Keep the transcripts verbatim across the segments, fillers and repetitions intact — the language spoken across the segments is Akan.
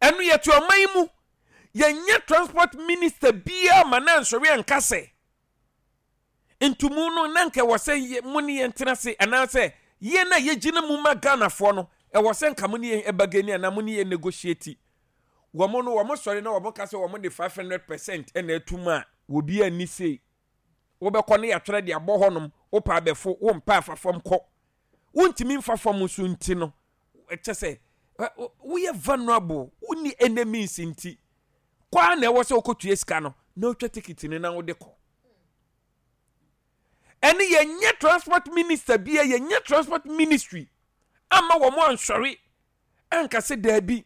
Ɛno yɛte ɔman mu, yɛnyɛ transport minister biara ma na nsɔre anka sɛ ntumu no na nka ɛwɔ sɛ mo ne yɛn tena ase, anaasɛ yɛn a yɛgyina mu ma Ghanafoɔ no, ɛwɔ sɛ nka mo ne yɛn ɛbargain anaa mo ne yɛn negotiate. Wɔn no wɔn sɔre na wɔn ka sɛ wɔn de five hundred percent ɛna atum a, obi ani se wobɛkɔ ne yɛatwerɛ de abɔ hɔnom. Wopɛ abɛfo, wompɛ afa fam kɔ, wontumi mfa fam nso. Nti no ɛkyɛ sɛ woyɛ vulnerable, wonni enemies, nti kɔ a na ɛwɔ sɛ wokɔtua sika no na wotwa ticket no na wode kɔ. Ɛne yɛnyɛ transport minister bia, yɛnyɛ transport ministry ama wɔn ansɔre anka sɛ daabi,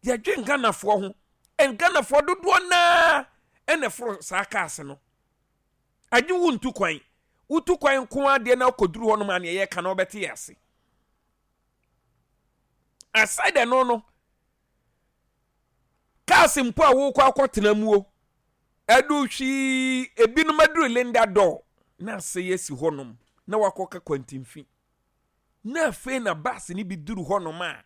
yɛdwe Ghanafoɔ ho. Ghanafoɔ dodoɔ naa ɛna foro saa cars no agye. Wo ntu kwan, wotu kwan nko adeɛ na wokɔduru hɔ nom a, neɛ yɛka na wobɛte yɛ ase. Aside ɛno no, cars mpo a wokɔ akɔtena mu o, ɛdu hwii, ebinom aduru Linda Dor na ase yɛ si hɔnom na wakɔka kwantimfi, na afei na bus no bi duru hɔnom a,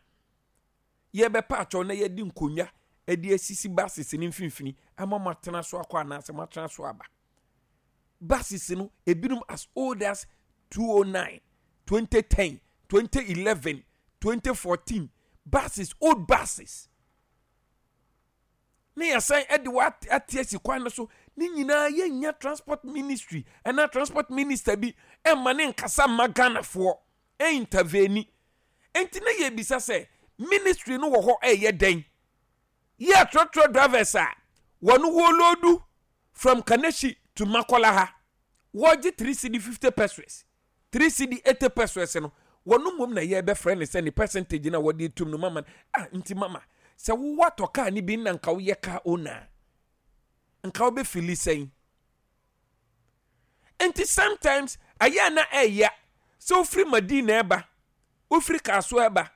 yɛbɛpa atwɛw na yɛde nkonnwa de asisi buses no mfimfini ama mo atena so akɔ anaasɛ mo atena so aba. Buses no ebinom as old as two thousand nine, twenty ten, twenty eleven, twenty fourteen buses, old buses, ne yɛsan de wɔ ate asi kwan no so. Ne nyinaa yɛnya transport ministry ɛna transport minister bi ɛma ne nkasa mma Ghanafoɔ ɛintervene. Nti na yɛbisa sɛ ministry no wɔ hɔ ɛyɛ dɛn? Yɛ trɔtrɔ drivers a wɔn wɔload from Kaneshie to Makola ha, wɔgye three cedi fifty pesewas, three cedi eighty pesewas no, wɔn mmom na yɛbɛfrɛ ne sɛ ne percentage na wɔde tum no mama. Ah, nti mama sɛ wowɔ atɔ kaa ne bi na nka woyɛ car owner, nka wobɛfeel sɛn? Nti sometimes ayɛ na ɛyɛ sɛ wofiri Madina ɛba, wofiri Kaaso ɛba,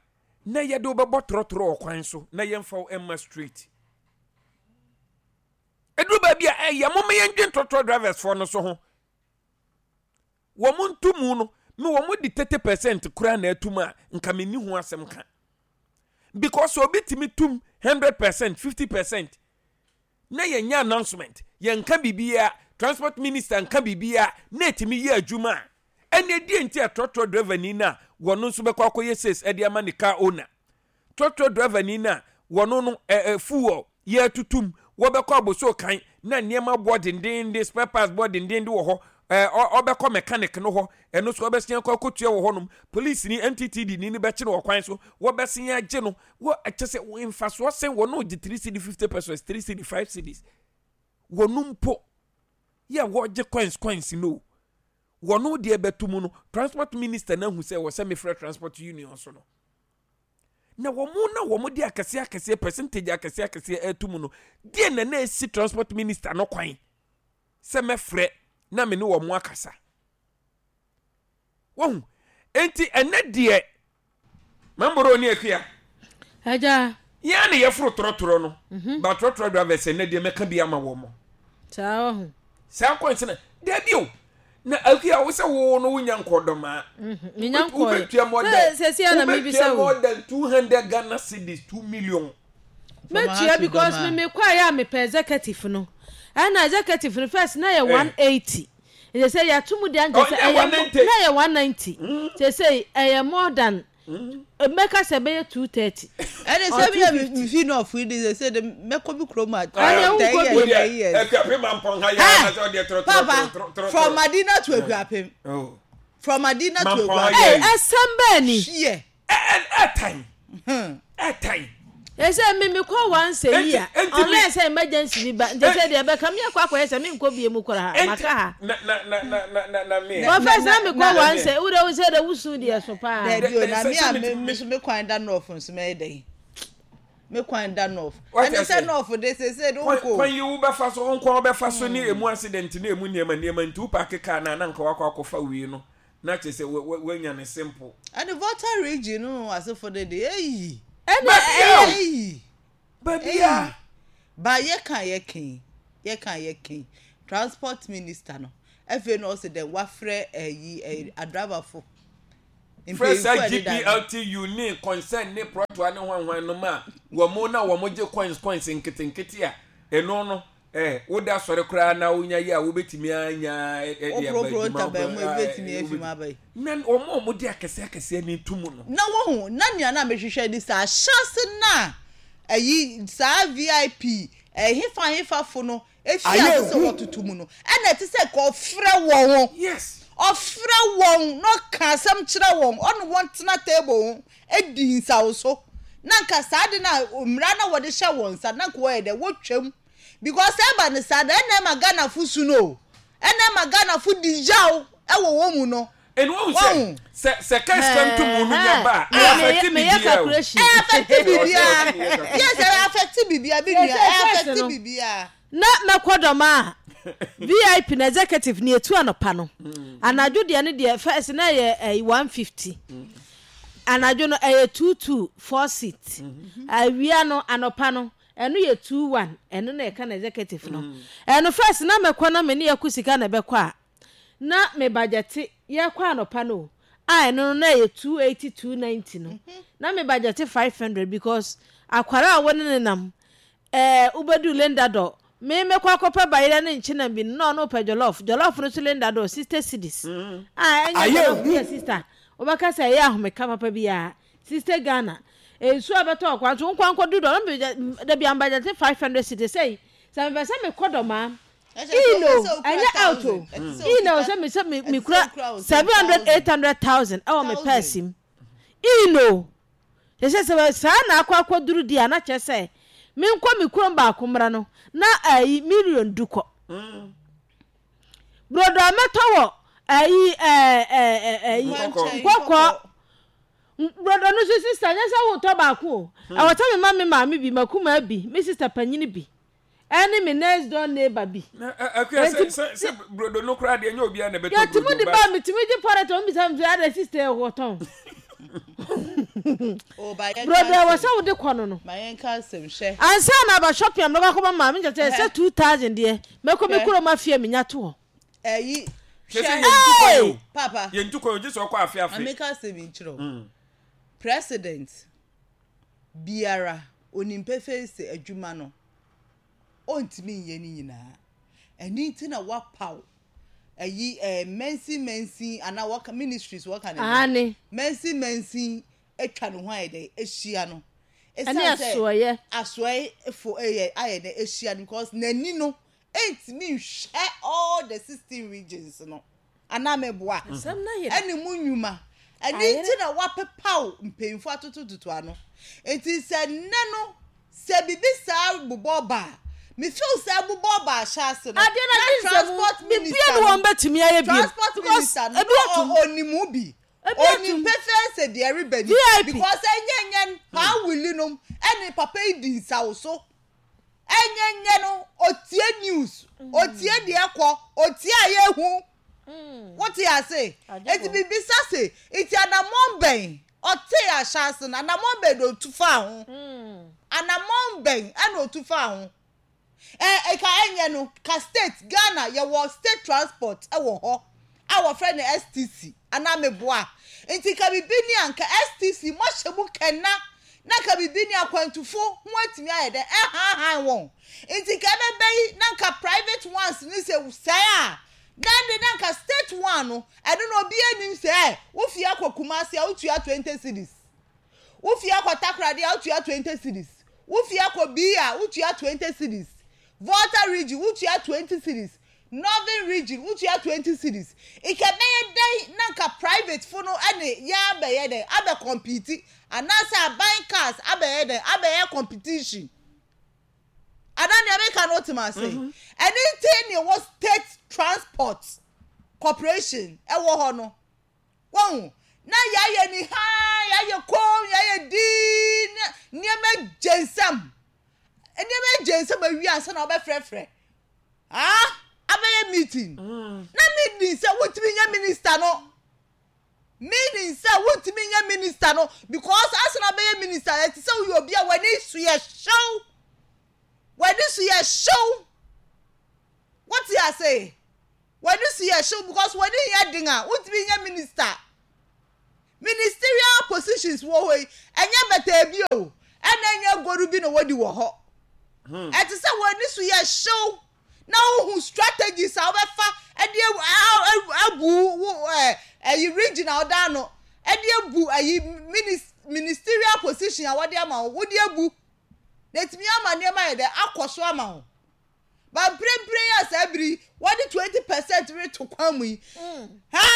na yɛde wobɛbɔ trɔtrɔ wɔ kwan so na yɛmfa wo ɛma straight. Ɛduru baabi a ɛyɛ moma yɛndwen trɔtrɔ drivers foɔ no so ho. Wɔn ntomu no me wɔn de thirty percent koraa na atum a, nka me ni ho asɛm ka, because obi tumi tum hundred percent, fifty percent na yɛnyɛ announcement, yɛnka biribiara, transport minister nka biribiara na etumi yɛ adwuma a, ɛna edi nti a trɔtrɔ driver ni na wɔn nso bɛkɔ akɔyɛ sales ɛde ama ne car owner. Trɔtrɔ driver ni na wɔn no ɛɛ fuel yɛ tutum, wɔbɛkɔ aboso kan na nneɛma boɔ dendenden, spare parts boɔ dendenden wɔ hɔ, ɛɛ ɔbɛkɔ mechanic no hɔ, ɛno nso ɔbɛsia kɔ akɔtua wɔ hɔnom. Police ni N T T D ni ni bɛkye no wɔ kwan so, wɔbɛsia agye no wɔ. Ɛkyɛ sɛ mfasoɔ sɛn wɔn no gye three cedi fifty pesewas, three cedi five cedis, wɔn mpo yɛ wɔgye coins coins no, wɔn deɛ bɛto mu no, transport minister na ahu sɛ wɔ sɛ mefrɛ transport union so no na wɔn na wɔn de akɛseɛ akɛseɛ, percentage akɛseɛ akɛseɛ ɛto mu no deɛ, na na esi transport minister no kwan sɛ mɛfrɛ na me ne wɔn akasa. Wɔn nti ɛnɛ deɛ, mamboro ne Akua. Agya. Yɛn na yɛforo trɔtrɔ no ba, trɔtrɔ drivers, ɛnɛ deɛ mɛka bi ama wɔn. Saa wɔ ho. Saa kwan sɛ na dabi o, na Akua, wo sɛ wo no wonya nkɔdɔmaa. Menya nkɔɛ. Wobɛtua more than sɛsi ana mebisa wobɛtua wo. More than two hundred Ghana cedis, two million. Mɛtua because me me kɔ ayɛ a mepɛ executive no, ɛna executive no first na yɛ one eighty, nti sɛ yɛato mu deɛ nkyɛ sɛ Oh, ɛyɛ one ninety. Na yɛ one ninety, sɛ sɛ ɛyɛ more than, mɛka sɛ ɛbɛyɛ two thirty. Ɛne sɛ bi a mefi north yi de sɛ de mɛkɔ bi kurom a Ɛne ten wonkɔ years, bi. ten years. Akuapem Mampɔn ha yɛ Hey! na sɛ ɔdeɛ trɔtrɔ Papa, trɔtrɔ. from Madina to Akuapem, Oh. from Madina to Mampɔn Akuapem. ayɛ. Ɛy, ɛsɛm bɛɛ ni. Hwiɛ. Ɛ ɛ ɛtan ɛtan. Ɛsɛ mi mi kɔ once a year Enti- enti mi- unless sɛ emergency bi ba, nti sɛ deɛ ɛbɛka mi akɔ akɔyɛ sɛ mi nkɔ bie mu koraa Enti- maka ha. na na na na na na na me. But first na mi na- kɔ once a wode wo sɛ de wusu deɛ so paa. Daabi o, na Sɛ- me sɛ a me- me me so me kwan da north nso, mɛyɛ dɛn? Me kwan da north. Wate Ɛne sɛ ase? north de sese de kwan wokɔ. Kwan yi wobɛfa so nkwa, wobɛfa so ne emu accident ne emu nneɛma nneɛma, nti wo park kaa na na nka wakɔ akɔfa wei no na kyerɛ sɛ wa- wa- wanya ne simple. Ɛne Volta Region no asefo de de eyi. Ɛna Baabi a ɛyɛ o. Eyi. Baabi a Ba yɛka yɛka yɛka yɛka transport minister no afei na ɔsɛ dɛ wafrɛ ɛyi ɛyi adrabafo. Frɛ saa Mpanyinfo a ɛdeda no. G P L T U ne concern ne prɔtoa ne hwanhwan no ma Wɔn na wɔn gye coins coins nketenkete a ɛno no ɛɛ woda sɔre koraa na wonya yi a wobɛtumi anya ɛde aba Woporoporo adwuma ntaban mu, wobɛ- ebetumi ɛɛ, afi mu aba yi. Na wɔn a wɔde akɛseɛ akɛseɛ ne tum no. Na wohu na nea na mehwehwɛ ni saa ahyɛse na ɛyi saa V I P ɛhefa hefafo no efi Ayɛ ase sɛ ehu. wɔtoto mu no, ɛna ɛte sɛ ka ɔfrɛ wɔn ho. Yes ɔfrɛ wɔn na ɔka asɛm kyerɛ wɔn, ɔne wɔn tena table ho edi nsawoso, na nka saa de na mmara na wɔde hyɛ wɔn nsa na nka wɔyɛ dɛ wɔtwam, because ɛba ne saa da, ɛna ɛma Ghanafo su no o, ɛna ɛma Ghanafo di yaw ɛwɔ wɔn mu no. Ɛnu wɔn sɛ Wɔn. sɛ sɛ kɛse ntomu no nya ba a, ɛyɛ affect meyɛ biribiara o. Calculation. Ɛyɛ affect biribiara. Ɔsɛ- Yes, ɛyɛ affect biribiara bi nua. Sɛ- sɛ Ɛyɛ first affect no. biribiara. Na mɛkɔ dɔm a V I P na executive ne etu anɔpa no, anadwo deɛ no deɛ, first na ɛyɛ ɛyɛ one fifty, anadwo no ɛyɛ two two, four seat. Awia no, anɔpa no, ɛno yɛ two one. Ɛno na ɛka na executive no. Ɛno first na mɛkɔ na me ne yɛkɔ sika na ɛbɛkɔ a, na me budget yɛkɔ anɔpa no o, a ɛno no na ɛyɛ two eighty, two ninety no, na me budget five hundred, because akwara a wɔne ne nam ɛɛ wobɛdu Linda Dor, me mɛkɔ akɔpɛ bayerɛ ne nkyena bi no, na ɔno pɛ jollof. Jollof no so Linda Dor sixty cedis a ɛnyɛ Ayɛ jollof hu. yɛ sister wobɛka sɛ ɛyɛ ahomeka papa biara. Sixty Ghana nsuo a bɛtɔ ɔkwan so nkwa nkɔdu dɔ dabi ambudget five hundred cedis sɛyi sɛ mepɛ sɛ mekɔ Dɔmaa ino, ɛnyɛ out o, ino sɛ me sɛ me me kura seven hundred, eight hundred thousand ɛwɔ me purse mu ino kyɛ sɛ saa na akɔ akɔduru di a, na kyerɛ sɛ menkɔ me kurom baako mmra no na ayi million du kɔ brodo a mɛtɔ wɔ ayi ɛɛ ɛɛ ɛyi Nkɔkɔ. Nkɔkɔ brodo no so, sister, nyɛ sɛ wotɔ baako o, ɛwɔ sɛ me ma me maame bi, makuma bi, me sister panyini bi, ɛne me next door neighbor bi. Na ɛ- akua sɛ Enti- sɛ sɛ brodo no koraa deɛ, nyɛ obiara na ɛbɛtɔ yɛtumi brodo de ba. ba metumi gye pɔrɛtɛ wɔn bisa mi sɛ ada sister ɛwɔ tɔn brodo ɛwɔ sɛ wode kɔ no no Ma yɛn ka asɛm hwɛ. Ansa na aba shopping a mɛkɔ akɔma maame nkyɛn sɛ two thousand deɛ, mɛkɔ me Hwɛ. kurom afie mi nya to hɔ. Ɛyi Hwɛ sɛ hwɛ. yɛntu kwan o. Papa. Yɛntu kwan o, gye sɛ ɔkɔ afe afe. Ameka asɛm yi kyerɛ o, president biara onim pefee sɛ adwuma no ɔntumi nyɛ ne nyinaa. Ɛne nti na wapaw ɛyi ɛɛ mɛnsin mɛnsin anaa wɔka ministries wɔka ne Ane. mɛnsin mɛnsin atwa ne ho ayɛ dɛ ahyia no. Ɛne asoɔyɛ. Asoɔyɛ fo ɛyɛ ayɛ dɛ ahyia no, because n'ani no ɛntumi nhwɛ all the sixteen regions no anaa mɛboa. Asɛm na yɛ. Ɛne mu nnwuma ɛne Ayere. nti na wapepaw mpanyinfo atotototo ano. Nti sɛ nnɛ no sɛ bibi saa bobɔ ba a, me feel sɛ bobɔ ba ahyɛ ase no Adeɛ na gye nsɛm transport bibia minister ne no wɔn bɛtumi ayɛ bi. Transport minister no ebi na atum. ɔ- ɔnim bi. Ebi atum. Onim pefee sɛ deɛ ɛreba ni V I P. because ɛnyɛ nyɛ paa wili nom ɛne papa yi di nsawo so, ɛnyɛ nyɛ no otie news, otie deɛ kɔ, otie a yɛhu wote ase. Agye Eti bɔ. bibisa se eti anamɔn bɛn ɔte ahyɛ ase no, anamɔn bɛn na otu fa ho, anamɔn bɛn ɛna otu fa ho? Ɛ ɛka ɛnyɛ no ka state Ghana yɛwɔ state transport ɛwɔ hɔ a wɔfrɛ no S T C anaa meboa? Nti ka bibi ni anka S T C mɔhyɛ mu kɛna na ka bibi ni akwantufo ho atumi ayɛ dɛ ɛhanhan wɔn. Nti ka ɛbɛbɛ yi na nka private ones ni sɛ sɛɛ a, then de na nka state one no, ɛno na obi anim sɛ ɛ wofie akɔ Kumasi a, wotua twenty cedis, wofie akɔ Takoradi a, wotua twenty cedis, wofie akɔ bii a, wotua twenty cedis, Volta Region wotua twenty cedis, Northern Region wotua twenty cedis. Ìkɛbɛyɛ dɛn na nka private fo no ɛne yɛn abɛyɛ dɛn abɛ compete, anaasɛ aban cars abɛyɛ dɛn abɛyɛ competition anaa nea meka no tem ase? Ɛne nti ne ɛwɔ state transport corporation ɛwɔ hɔ no, wɔn na yɛayɛ ni haa, yɛayɛ kom, yɛayɛ dii na nneɛma gye nsam, nneɛma gye nsam awie ansa na ɔbɛfrɛfrɛ ah abɛyɛ meeting. Na meeting sɛ wotumi nyɛ minister no, meaning sɛ wotumi nyɛ minister no, because asa na abɛyɛ minister, ɛte sɛ woyɛ obi a w'ani so yɛ hyew, w'ani so yɛ hyew, wote ase? W'ani so yɛ hyew because w'ani yɛ den a wotumi nyɛ minister. Ministerial positions wɔ hɔ yi, ɛnyɛ bɛtɛɛ bi o. Ɛna ɛnyɛ agoru bi na wɔdi wɔ hɔ. Ɛte sɛ wɔn ani so yɛ hyew na wohu strategies a wobɛfa ɛde abu wo ɛɛ ɛyi region a ɔda ano, ɛde abu ɛyi ministerial position a wɔde ama wo, wode abu na etumi ama nneɛma yɛ dɛ akɔ so ama wo. Ba mprempren yi a saa bere wɔde twenty percent reto kwan mu yi, ha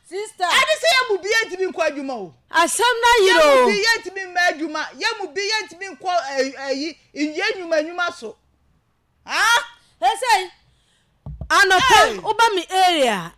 sister, ɛde sɛ yɛn mu bi yɛntumi nkɔ adwuma o. Asɛm na yere Yɛn o. mu bi yɛntumi mma adwuma, yɛn mu bi yɛntumi nkɔ ɛyi yɛn nnwuma nnwuma so ha. Ɛsɛ anɔpa woba mi area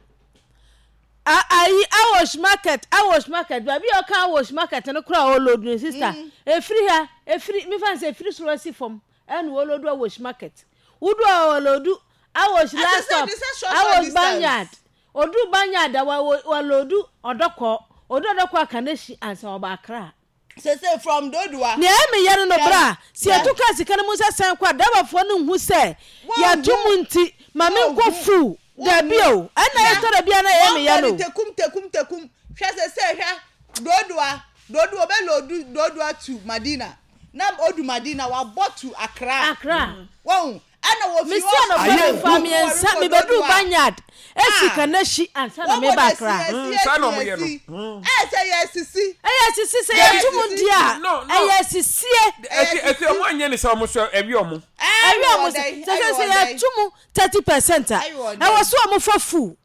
ayi Awoshie Market, Awoshie Market, baabi a ɔka Awoshie Market no kora ɔ load no, sister, efiri ha, efiri mifa n sɛ efiri soro asi fam ɛna ɔ load Awoshie Market, wudu a ɔ load Awoshie last stop, Awoshie Banyard, odu Banyard a wa wa load Ɔdɔkɔ, odu Ɔdɔkɔ Akaneshie ansa ɔba Akra. Sese from Dodowa. Nea ɛmi yɛ no no bra si yɛto kaa sika no mu sɛ sɛn kɔ a, driverfoɔ no nhu sɛ yɛto mu nti maame nkɔ fu dabi o. Ɛna yɛ tɔ dabi a na ɛyɛ mi yɛ no. Wɔn tekum tekum tekum, hwɛ, sese hwɛ Dodowa, Dodowa ɔbɛ load Dodowa to Madina, na odu Madina wabɔ to Accra. Accra. Wɔn ɛna wɔ fi Mesi anɔpa mi fa mmiɛnsa mi bɛdu Banyard esi Kaneshie ansa na mi ba Accra. Saa na ɔmo yɛ no. Ɛ sɛ yɛ sisi. Ɛyɛ sisi sɛ yɛto mu di a, No, no. ɛyɛ sisie. Efi efi ɔmo anyɛ ne sɛ ɔmo so ɛwi ɔmo. Ɛwi ɔmo sɛ sɛ sɛ yɛto mu thirty percent a, ɛwɔ so ɔmo fa fu,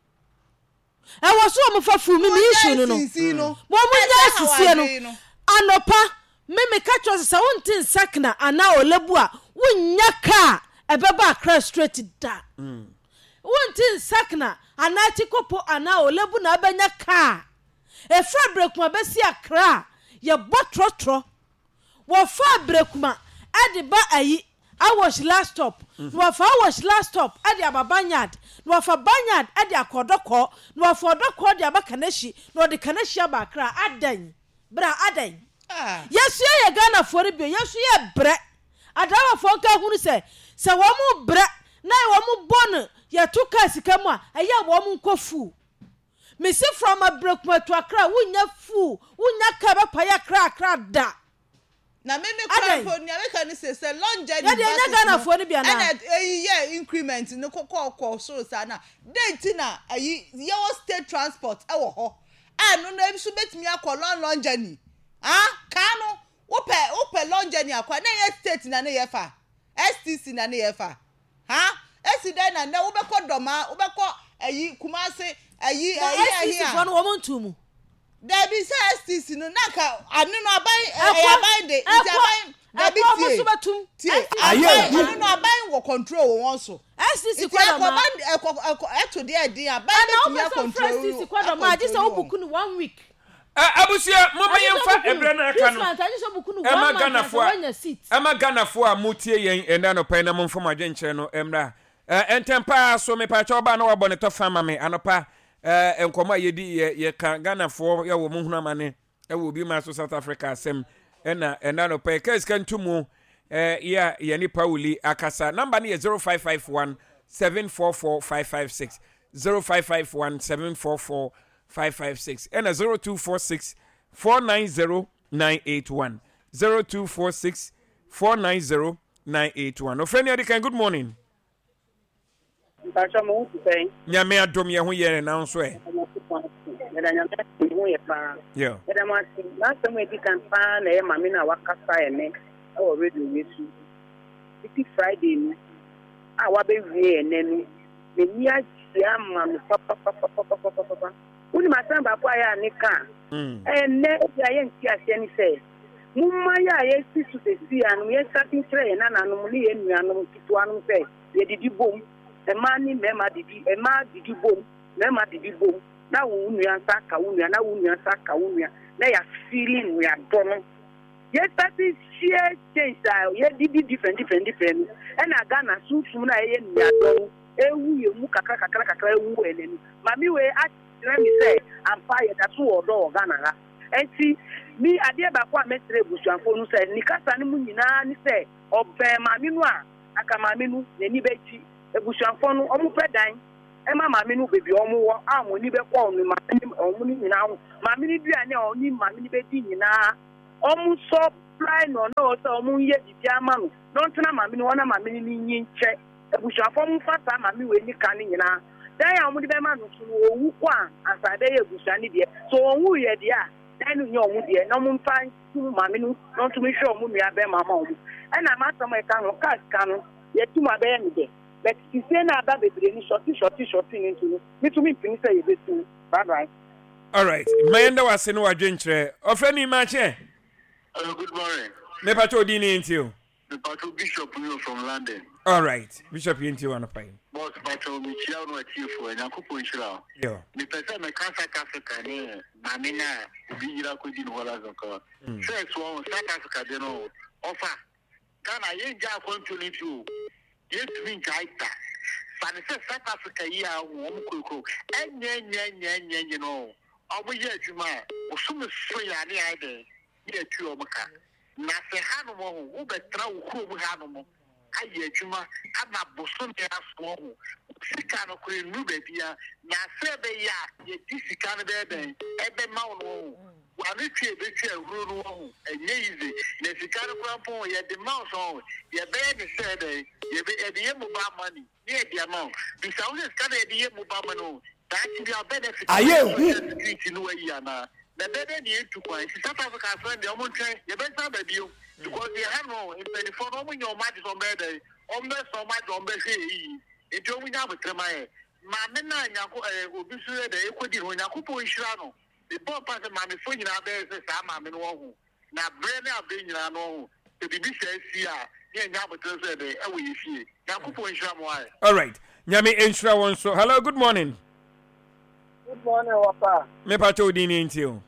ɛwɔ so ɔmo fa fu. Mi mi issue no no wɔn mo nya sisie no. Anɔpa mi mi ka kyerɛ sɛ sɛ wonte nsakna anaa Olebu a, wonya kaa ɛbɛba Akra straight da. Wonte nsakna anaa Tikopo anaa Olebu na abɛnya kaa efra Berekuma bɛsi Akra. Yɛbɔ trɔtrɔ wɔfa Berekuma ɛde ba ayi Awoshie last stop, na wɔfa Awoshie last stop ɛde aba Banyard, na wɔfa Banyard ɛde akɔ Ɔdɔkɔ, na wɔfa Ɔdɔkɔ de aba Kaneshie, na wɔde Kaneshie aba Akra. Adan bra adan yɛsu yɛ Ghanafoɔ no bio, yɛsu yɛ brɛ. Adramafoɔ nka hunu sɛ sɛ wɔn mo brɛ na wɔn mo bɔ no yɛto kaa sika mu a, ɛyɛ wɔn mo nkɔ fu. Mesi from Abirekuma to Akra, wonya fu, wonya kaa bɛpa yɛ Akra Akra da. Na mímí kura mpo nea meka ne sɛ sɛ long journey Yɛde ɛnyɛ Ghanafoɔ no bi anaa? Ɛna eyi yɛ increment no kɔkɔ kɔ soro saa na den ti na ɛyi yɛwɔ state transport ɛwɔ hɔ a ɛno no nso betumi akɔ long long journey. Ah, kaa no wopɛ wopɛ long journey akɔ na yɛ state na ne yɛ fa S T C na ne yɛ fa ha esi dɛn na nɛ wobɛkɔ Dɔmaa, wobɛkɔ ɛyi Kumase, ɛyi ɛyi ɛyi S T C foɔ no wɔn ntu mu. Dabi, sɛ S T C no nanka ano no aban ɛyɛ aban de nti aban dabi tie tie, aban ano no aban wɔ control wɔ wɔn so. S T C Nti kɔ ɛkɔ ban ɛkɔ ɛkɔ ɛto deɛ ɛdin aban Ɛna bɛtumi wopɛ sɛ a control wofrɛ S T C kɔ Dɔmaa, agye sɛ wo book no one week. Abusua, moma yɛmfa ɛberɛ no aka no ɛma Ghanafoɔ a ɛma Ghanafoɔ a motie yɛn ɛnɛ anɔpa yi na momfa mo adwenkyerɛ no mmra ntɛm paa so. Mepakyɛ ɔbaa na wabɔ ne tɔfa ma me. Anɔpa nkɔmmɔ a yɛdi yɛ yɛka Ghanafoɔ yɛwɔ mo hunu amane ɛwɔ obi ma so South Africa asɛm. Ɛna ɛnɛ anɔpa yi kaa sika ntomu yɛ a yɛne Pauli akasa. Number no yɛ zero five five one seven four four five five six, zero five five one seven four four five five six, ɛna zero two four six four nine zero nine eight one, zero two four six four nine zero nine eight one. Ofrɛ ni adi kan. Good morning. Mpatsɔ, mo ho te sɛn? Nyame adom, yɛ ho yɛ, na nso ɛ? Yɛda Nyame ase, ho yɛ paa. Yeah. Yɛda mo ase. N'asɛm a edi kan paa na ɛyɛ maame no a wakasa ɛnɛ ɛwɔ radio yi so titi Friday no a wabɛwie ɛnɛ no, n'ani agye ama no papapapapapapapa. Wonim asɛm baako a yɛ a ne ka ɛnɛ ebi a yɛnti aseɛ ne sɛ momma yɛ a yɛsi so sɛsi anom yɛnsate nkyerɛ yɛn nananom ne yɛn nuanom ketewa nom sɛ yɛdidi bom, mmaa ne mmarima didi, mmaa didi bom, mmarima didi bom, na wo nua nsa ka wo nua, na wo nua nsa ka wo nua, na yɛafili nnuadɔ no. Yɛsate share change a yɛdidi different different different no, ɛna Ghana sunsum no a ɛyɛ nnuadɔ no ewu yɛ mu kakra kakra kakra, ewu wɔ ɛnɛ no. Maame wei akyerɛ mi sɛ ampa yɛda so wɔ ɔdɔ wɔ Ghana ha. Nti mi adeɛ baako a mɛsrɛ ebusuafoɔ no sɛ ne kasa no mu nyinaa ne sɛ ɔbɛn maame no a, aka maame no n'ani bɛgye. Ebusuafoɔ no ɔmo pɛ dan ɛma maame no beebi a ɔmo wɔ a ɔmo ani bɛkɔ ɔno maame no, ɔmo no nyinaa ho, maame no duane a ɔne maame no bɛdi nyinaa, ɔmo nsɔ Fly no na ɔsɛ ɔmo nyɛ biribi ama no na ɔntena maame no hɔ na maame no ne nyi nkyɛ. Abusuafoɔ mo mfa saa maame wei ne ka no nyinaa. Dan a ɔmo de bɛma no so no, owu kɔ a ansa ɛbɛyɛ abusua no deɛ. So ɔnwu yɛ deɛ a, dan no nyɛ ɔmo deɛ na ɔmo mfa ntum maame no na ɔntumi hwɛ ɔmo nua bɛrima ma ɔmo. Ɛna m'asɛm a ɛka ho, kaa sika no yɛtum abɛyɛ me dɛ, but sisie na aba bebree no short short short no nti no, metumi mpini sɛ yɛbɛtum. Bye bye. Alright, ma yɛnda wase ne wadwenkyerɛ. Ɔfrɛ ni makyɛ. Hello, good morning. Mepakyɛ, odin ne yɛntie o. Mepacho, Bishop Nyo from London. Alright, Bishop, yɛntie wɔ anɔpa yi. Boss, Pacho, mekyia wo no atiefo, Nyankopɔn nhyira wo. Yo. Mepɛ sɛ meka South Africa ne maame no a obi yera kɔdi ne hɔ last ka. First wɔn South Africa de no, ɔfa Ghana yɛngya akwantuo no nti o, yɛntumi ngyae da. Fa ne sɛ South Africa yi a wɔn kurokuro ɛnyɛ nyɛ nyɛ nyɛ nyɛ no, ɔmo yɛ adwuma a bosome so yɛ ane ayɛ dɛn ne yɛtua ɔmo ka. Na sɛ hanom ho wobɛtena wo kurom hanom ayɛ adwuma ama bosome asoɔ ho, sika no kora nnuru baabi a na sɛ ɛbɛyɛ a yɛdi sika no bɛyɛ dɛn ɛbɛma wo no ho wano twe ebɛtwa ahuro no ho, ɛnyɛ easy. Na sika no kora mpo yɛde ma wo sɔn, yɛbɛyɛ ne sɛ dɛn, yɛbɛ yɛde yɛ mobile money ne yɛde ama wo. Bisa wo sɛ sika no yɛde yɛ mobile money o, daakye bi a benefit Ayɛ ehu. Security no wayi anaa na ɛbɛyɛ dɛ ne yɛntu kwan. Nti South Africa asɛm deɛ, ɔmo ntwɛn, yɛbɛsan baabi o, because yɛ ha no mpanimfoɔ no, ɔmo nyɛ ɔmo ade sɛ ɔmo bɛyɛ dɛn, ɔmo bɛsɛ ɔmo ade, ɔmo bɛhwɛ yɛ yie. Nti ɔmo nya abotire ma yɛ maame na nyanko ɛɛ obi so yɛ dɛ ekodi ho. Nyankopɔn nhyira no. Mebɔ mpa sɛ maamefoɔ nyinaa bɛyɛ sɛ saa maame no wɔ ho na berɛ ne aberɛ nyinaa no ho sɛ biribi sɛ asi a ne yɛnya abotire so yɛ dɛ ɛwɔ yɛ fie. Nyankopɔn nhyira mo ayɛ. Alright, Nyame nhyira wɔn so. Hello, good morning. Good morning, Papa. Mepakyɛ, odin ne yɛntie o.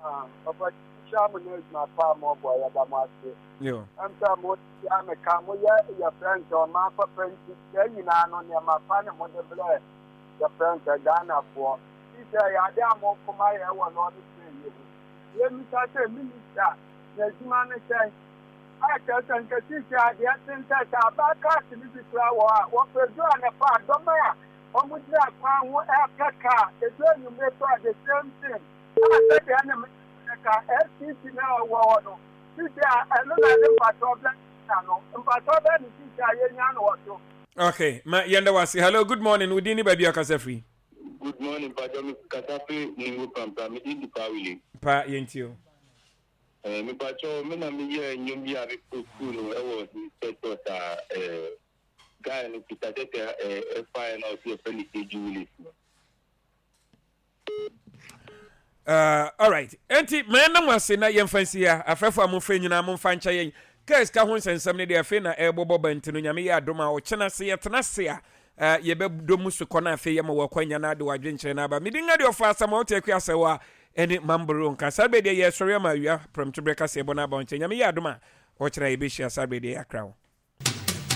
Ah, Papa, nhyira mo ne adwuma pa a mɔbɔ, yɛda mo ase. Yo. Ɛm sɛ mo tia me ka, moyɛ yɛfrɛ no sɛ ɔman papa nti, saa nyinaa no nneɛma pa ne mode brɛ yɛfrɛ no sɛ Ghanafoɔ. Ti sɛ yɛade a mokoma yɛ wɔ lɔɔre train yi ho. Yɛmmisa sɛ minister na adwuma no sɛn? A kyerɛ sɛ nka sisi adeɛ tenten sɛ aba cars no bi kora wɔ a wɔpɛ du anɔpa a dɔm a wɔn gyina kwan ho ɛrepɛ kaa, edu anwummerɛ so a, the same thing. A sɛdeɛ ne ka S T C na ɛwɔ hɔ no, sisi a ɛno na ne mpatɔ bɛ na no mpatɔ bɛ ne sisi a yɛnya no wɔ so. Okay, ma yɛnda wase. Hello, good morning. Wodin ne baabi a ɔkasa firi? Good morning, Pacho. Me kasa firi Ningo Prampram. Me din di Pa Willie. Pa, yɛntie o. Eh, me Pacho, me na me yɛ nnwom bi a me post no ɛwɔ status a eh, guy no Peter Tete eh, ɛfae na ɔsi ɛfɛ ne K G Willis no. Uh, alright, enti ma yɛnam ase na yɛmfa nsi ha. Afrɛfo a momfrɛ nyinaa, momfa nkyɛ yɛn. Kaa sika ho nsɛnsɛm no deɛ, afei na ɛrebɔbɔ ba nti no, Nyame yɛ adom a, ɔkyena se yɛtena se a uh, yɛbɛdɔ mu so kɔ no. Afei yɛma wɔakɔ no ade wadwenkyerɛ no aba. Mede nga deɛ ɔfa asɛm a wote akua sɛ wɔ a ɛne mamboro nka saa berɛ deɛ yɛsɔre ama awia prɛmtoberɛ kaseɛ bɔ no aba wo nkyɛn. Nyame yɛ adom a, ɔkyena yɛbɛhyia saa berɛ deɛ yɛakra wo.